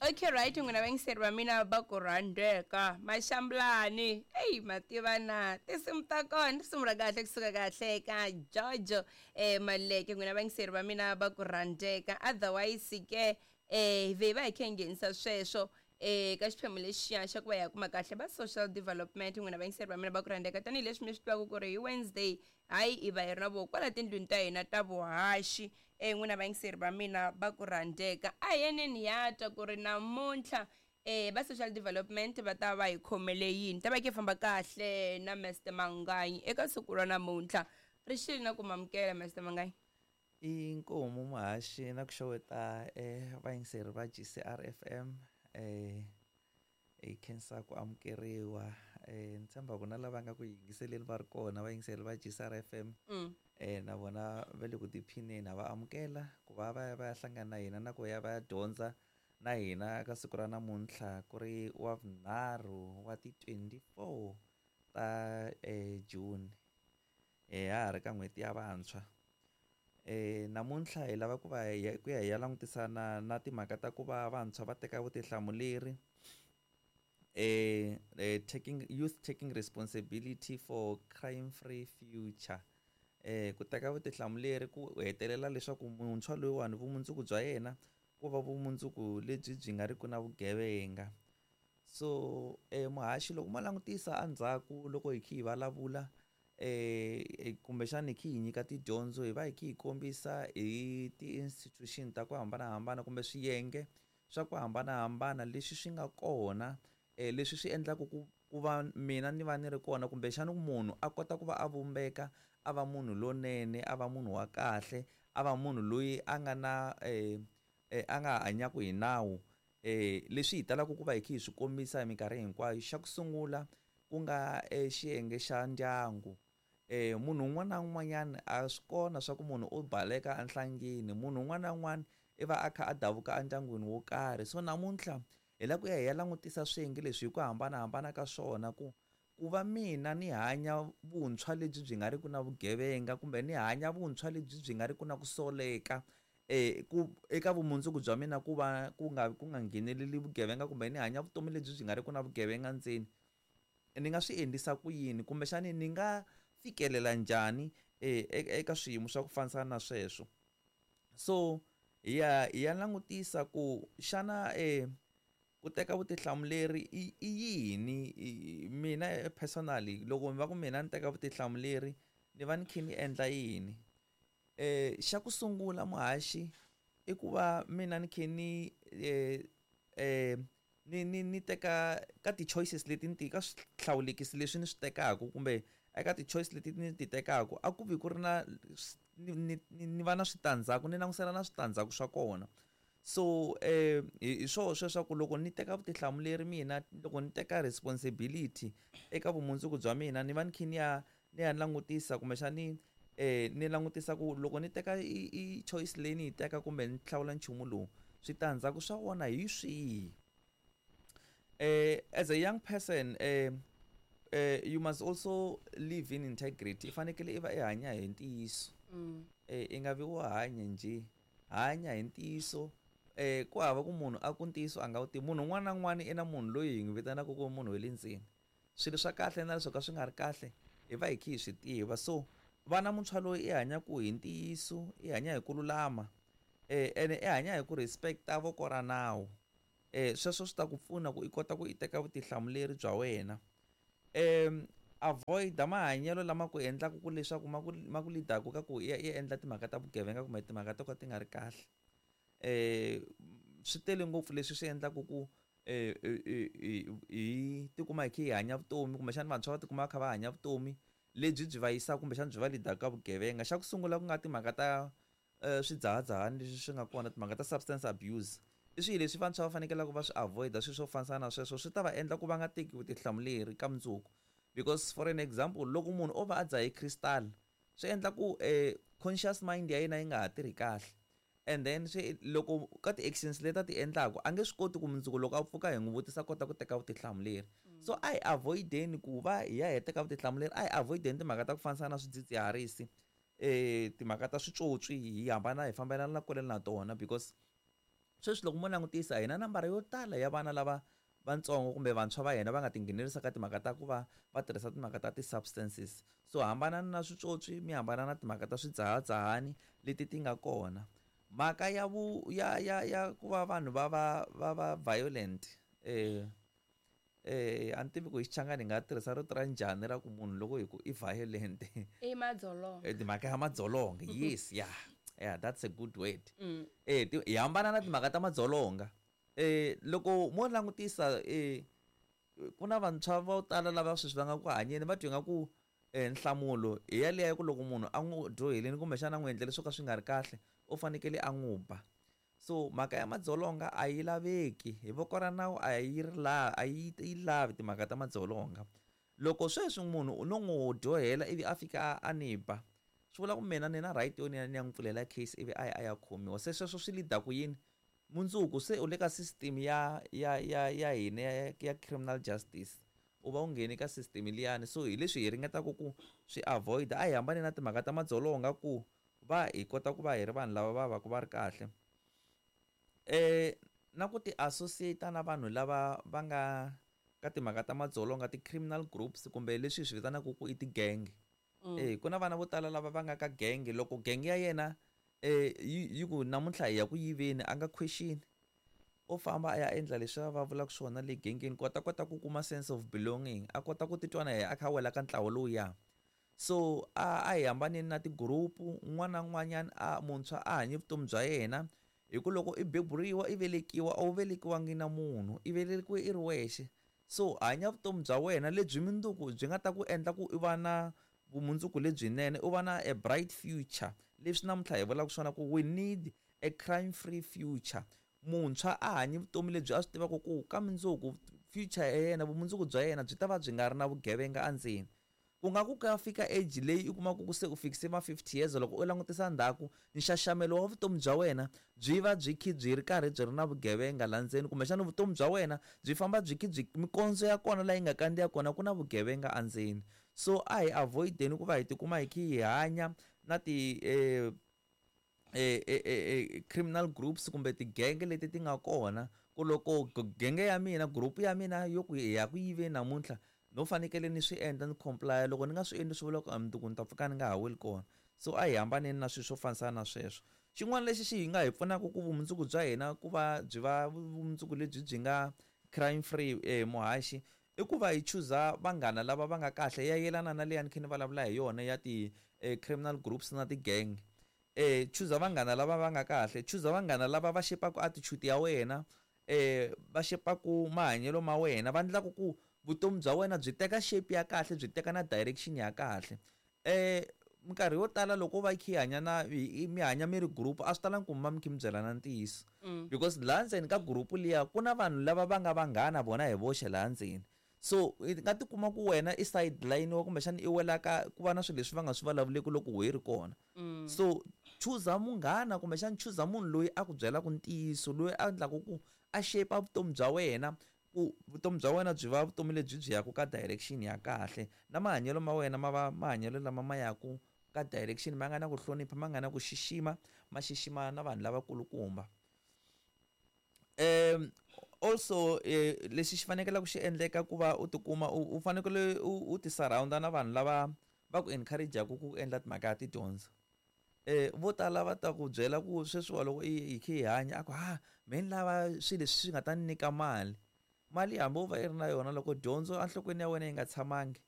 Okay, right, n'wina vayingiseri va mina va ku rhandzeka maxambulani. Eyi, ma tiva na tinsimu ta kona, risimu ra kahle kusuka kahle ka Jojo Maleke. N'wina vayingiseri va mina va ku rhandzeka. Otherwise ke hi ve hi va hi kha hi nghenisa sweswo ka xiphemu lexiya xa ku va hi ya kuma kahle va social development. N'wina vayingiseri va mina va ku rhandzeka, tanihileswi mi swi tivaka ku ri hi Wednesday hayi hi va hi ri na voho kwala tindlwini ta hina ta vuhaxi. N'wina vayingiseri va mina va ku rhandzeka, a hi yeneni ya twa ku ri namuntlha va social development va ta va hi khomele yini. Ta va ke famba kahle na Mr Manganyi eka siku ra namuntlha. Ri xile na ku mamukela Mr Manganyi. I nkomu muhaxi na ku xeweta vayingiseri va GCR FM. Hi khensa ku amukeriwa. Ni tshemba ku na lava nga ku yingiseleni va ri kona vayingiseri va GCR FM na vona va le ku tiphineni. Ha va amukela ku va va ya va ya hlangana na hina na ku ya va ya dyondza na hina ka siku ra namuntlha ku ri wa vunharhu wa ti 24 ta June. Ha ha ri ka n'hweti ya vantshwa. Namuntlha hi lava ku va ku ya hi ya langutisana na timhaka ta ku va vantshwa va teka vutihlamuleri, taking youth taking responsibility for crime free future. Ku teka vutihlamuleri ku hetelela leswaku muntshwa loyiwani vumundzuku bya yena ku va vumundzuku lebyi byi nga ri ku na vugevenga. So muhaxi, loko mo langutisa endzhaku loko hi kha hi vulavula kumbexana hi kha hi nyika tidyondzo, hi va hi kha hi kombisa hi ti-institution ta ku hambanahambana kumbe swiyenge swa ku hambanahambana leswi swi nga kona, leswi swi endlaka ku va mina ni va ni ri kona, kumbexana munhu a kota ku va a vumbeka a va munhu lonene, a va munhu wa kahle, a va munhu loyi a nga na a nga hanyaka hi nawu. Leswi hi talaka ku va hi kha hi swi kombisa hi minkarhi hinkwayo, xa ku sungula ku nga xiyenge xa ndyangu. Munhu un'wana na un'wanyana a swi kona swa ku munhu u baleka enhlangeni, munhu un'wana na un'wana i va a kha a davuka endyangwini wo karhi. So namuntlha hi lava ku ya hi ya langutisa swiyenge leswi hi ku hambanahambana ka swona, ku ku va mina ni hanya vuntshwa lebyi byi nga ri ku na vugevenga, kumbe ni hanya vuntshwa lebyi byi nga ri ku na ku soleka ku eka vumundzuku bya mina, ku va ku nga ngheneleli vugevenga, kumbe ni hanya vutomi lebyi byi nga ri ku na vugevenga ndzeni, ni nga swi endlisa ku yini, kumbexani ni nga fikelela njhani eka swiyimo swa ku fambisana na sweswo. So hi ya langutisa ku xana ku teka vutihlamuleri i yini. Mina personally loko va ku mina ni teka vutihlamuleri ni va ni kha ni endla yini. Xa ku sungula muhaxi i ku va mina ni kha ni ni teka ka ti-choices leti ni ti ka swihlawulekisi leswi ni swi tekaka, kumbe eka ti-choice leti ni ti tekaka a ku vi ku ri na ni va na switandzhaku, ni langutisela na switandzhaku swa kona. So hi swoho sweswaku loko ni teka vutihlamuleri mina, loko ni teka responsibility eka vumundzuku bya mina, ni va ni kha ni ya ni ya langutisa kumbexani ni langutisa ku loko ni teka i choice leyi ni yi teka kumbe ni hlawula nchumu lowu, switandzhaku swa wona hi swihi. As a young person you must also live in integrity. I fanekele i va i hanya hi ntiyiso. I nga vi wo hanya njhe, hanya hi ntiyiso. Ku hava ku munhu a ku ntiyiso a nga wu tivi. Munhu un'wana na un'wana i na munhu loyi hi n'wi vitanaka ku munhu wa le ndzeni. Swilo swa kahle na leswo ka swi nga ri kahle hi va hi kha hi swi tiva. So vana muntshwa loyi i hanyaka hi ntiyiso, i hanya hi ku lulama, ene i hanya hi ku respect-a voko ra nawu. Sweswo swi ta ku pfuna ku i kota ku i teka vutihlamuleri bya wena. Avoid mahanyelo lama ku endlaka ku leswaku ma ku lead-aku ka ku i ya i endla timhaka ta vugevenga kumbe timhaka to ka ti nga ri kahle. Swi tele ngopfu leswi swi endlaka ku hi tikuma hi kha hi hanya vutomi, kumbexana vantshwa va tikuma va kha va hanya vutomi lebyi byi va yisaka kumbexana byi va lead-aka ka vugevenga. Xa ku sungula ku nga timhaka ta swidzahadzahani leswi swi nga kona, timhaka ta substance abuse. I swilo leswi vantshwa va fanekelaka va swi avoid-a, swilo swo fambisana na sweswo swi ta va endla ku va nga teki vutihlamuleri ka mundzuku. Because for an example, loko munhu o va a dzahe crystal, swi endla ku conscious mind ya yena yi nga ha tirhi kahle. And then swi loko ka ti-actions leti a ti endlaka a nge swi koti ku mundzuku loko a pfuka hi n'wi vutisa kota ku teka vutihlamuleri. So a hi avoid-eni ku va hi ya hi teka vutihlamuleri, a hi avoid-eni timhaka ta ku fambisana na swidzidziharisi, timhaka ta switswotswi, hi hambana hi fambelana na kule na tona, because Sweswi loko mo langutisa hi na nambara yo tala ya vana lava vatsongo kumbe vantshwa va hina va nga tinghenelerisa ka timhaka ta ku va va tirhisa timhaka ta ti-substances. So hambanani na switswotswi, mi hambana na timhaka ta swidzahadzahani leti ti nga kona. Mhaka ya vu ya ya ya ku va vanhu va va va va violent, a ni tivi ku hi Xichangani hi nga tirhisa rito ra njhani ra ku munhu loko hi ku i violent. I madzolonga. Timhaka ya madzolonga, yes, yeah, yeah, that's a good word. Hi hambana na timhaka ta madzolonga. Loko mo langutisa, ku na vantshwa vo tala lava sweswi va nga ku hanyeni va twa nga ku nhlamulo hi yaleyo ku loko munhu a n'wi dyohelini kumbexana a n'wi endlele swo ka swi nga ri kahle, u fanekele a n'wi ba. So mhaka ya madzolonga a yi laveki hi voko ra nawu, a yi ri la a yi yi lavi timhaka ta madzolonga. Loko sweswi munhu no n'wi dyohela ivi a fika a ni ba, swi vula ku mina ni na right yo ni ya ni ya n'wi pfulela case ivi a ya a ya khomiwa. Se sweswo swi lead ku yini? Mundzuku se u le ka system ya hina ya criminal justice, u va u ngheni ka system liyani. So hi leswi hi ringetaka ku swi avoid. A hi hambani na timhaka ta madzolonga ku va hi kota ku va hi ri vanhu lava va va ku va ri kahle. Na ku ti associate na vanhu lava va nga ka timhaka ta madzolonga, ti-criminal groups kumbe leswi hi swi vitanaka ku i ti-gang. Ku na vana vo tala lava va nga ka gang. Loko gang ya yena yi ku namuntlha hi ya ku yiveni, a nga question, u famba a ya endla leswi va vulaka swona le gangeni ku a ta kota ku kuma sense of belonging, a kota ku titwa na yena a kha a wela ka ntlawa lowuya. So a hi hambaneni na ti-group. Un'wana na un'wanyana a muntshwa a hanyi vutomi bya yena, hi ku loko i beburiwa, i velekiwa, a wu velekiwangi na munhu, i velekiwe i ri wexe. So hanya vutomi bya wena lebyi mundzuku byi nga ta ku endla ku i va na vumundzuku lebyinene, u va na a bright future. Leswi namuntlha hi vulaka swona ku we need a crime free future. Muntshwa a hanyi vutomi lebyi a swi tivaka ku ka mundzuku future ya yena, vumundzuku bya yena byi ta va byi nga ri na vugevenga endzeni. Ku nga ku ka fika age leyi i kumaka ku se u fikise ma 50 years, loko u langutisa ndzhaku nxaxamelo wa vutomi bya wena byi va byi khi byi ri karhi byi ri na vugevenga la ndzeni, kumbexana vutomi bya wena byi famba byi khi byi mikondzo ya kona laha yi nga kandziya kona ku na vugevenga endzeni. So a hi avoid-eni ku va hi tikuma hi khi hi hanya na ti criminal groups kumbe tigenge leti ti nga kona. Ku loko genge ya mina, group ya mina yo ku hi ya ku yiveni namuntlha, no fanekele ni swi endla, ni comply. Loko ni nga swi endli swi vula ku mundzuku ni ta pfuka ni nga ha weli kona. So a hi hambaneni na swilo swo fambisana na sweswo. Xin'wana lexi xi hi nga hi pfunaka ku vumundzuku bya hina ku va byi va vumundzuku lebyi byi nga crime free, muhaxi, i ku va hi chuza vanghana lava va nga kahle. Ya yelana na leyi a ni kha ni vulavula hi yona ya ti criminal groups na ti-gang. Chuza vanghana lava va nga kahle, chuza vanghana lava va xepaka attitude ya wena, va xepaku mahanyelo ma wena, va endlaku ku vutomi bya wena byi teka shape ya kahle, byi teka na direction ya kahle. Minkarhi yo tala loko va kha hanya na mi hanya mi ri group, a swi talangi ku mi va mi kha mi byelana ntiyiso, because laha ndzeni ka group liya ku na vanhu lava va nga vanghana vona hi voxe laha ndzeni. So i nga tikuma ku wena i sideline wa kumbexana i wela ka ku va na swilo leswi va nga swi vulavuleki loko wehe ri kona. So chuza munghana kumbexana chuza munhu loyi a ku byelaka ntiyiso, loyi a endlaka ku a shape vutomi bya wena, ku vutomi bya wena byi va vutomi lebyi byi yaka ka direction ya kahle, na mahanyelo ma wena ma va mahanyelo lama ma yaku ka direction, ma nga na ku hlonipha, ma nga na ku xixima, ma xixima na vanhu lavakulukumba. Also, lexi xi fanekelaka xi endleka ku va u tikuma u fanekele u ti surround-a na vanhu lava va ku encourage-aku ku endla timhaka ya tidyondzo. Vo tala va ta ku byela ku sweswiwa loko i hi kha hi hanya, a ku ha me ni lava swilo leswi swi nga ta ni nyika mali. Mali hambi wo va i ri na yona, loko dyondzo enhlokweni ya wena yi nga tshamangi,